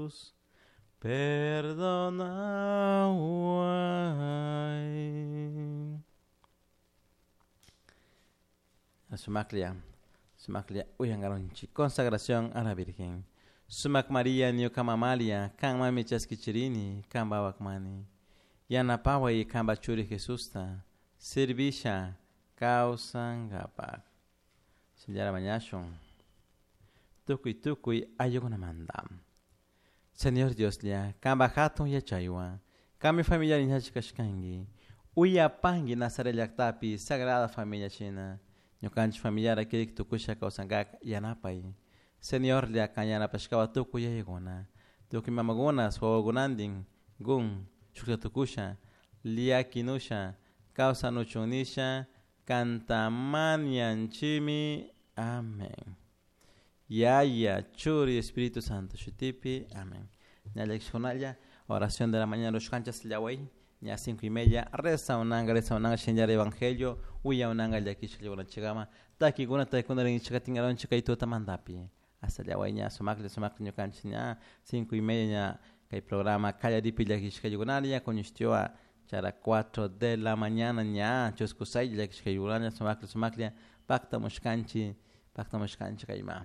Jesús, perdonahuai. Sumaclia, sumaclia, uyangaronchi, consagración a la Virgen. Sumac María, ñuka mamalia, kan mami chaskichirini, kan bawakmani. Yanapaway kanpa churi Jesusta, servisha kawsankapak. Shinallara mañashun. Tukuy tukuy ayukunamanta. Señor Dioslla, kanpa hatun yachaywan, kanmi familia kashkanki. Uyapanki Nazaret llaktapi Sagrada Familia shina. Ñukanchik familiara kirik tukusha kawsankak yanapay. Señorlla kan yanapashkawa tukuy yayakuna. Tukuy mamakuna wawakunantin gun shukta tukusha llakinusha kawsanuchun nisha kantamanianchimi. Amén. Yaya, Churi, Espíritu Santo, shutipi. Amén. Ña oración de la mañana, los canchas llaway, ña 5:30, reza unanga, reza unanga, shinjar evangelio, uya unanga, llakish chigama, takikuna, takikuna, rinchikatingaron, chikaituta mandapi. Hasta llaway, ña sumakli, sumakli, ñukanchis, ña 5:30, ña kay programa, kallaripi llakishkayukunaria, kuñishtioa, chara 4 de la mañana, ña, chuskusay, llakishkayukunaria, sumakli, sumakli, pacta mushkanchi, pacta mushkanchi kayma.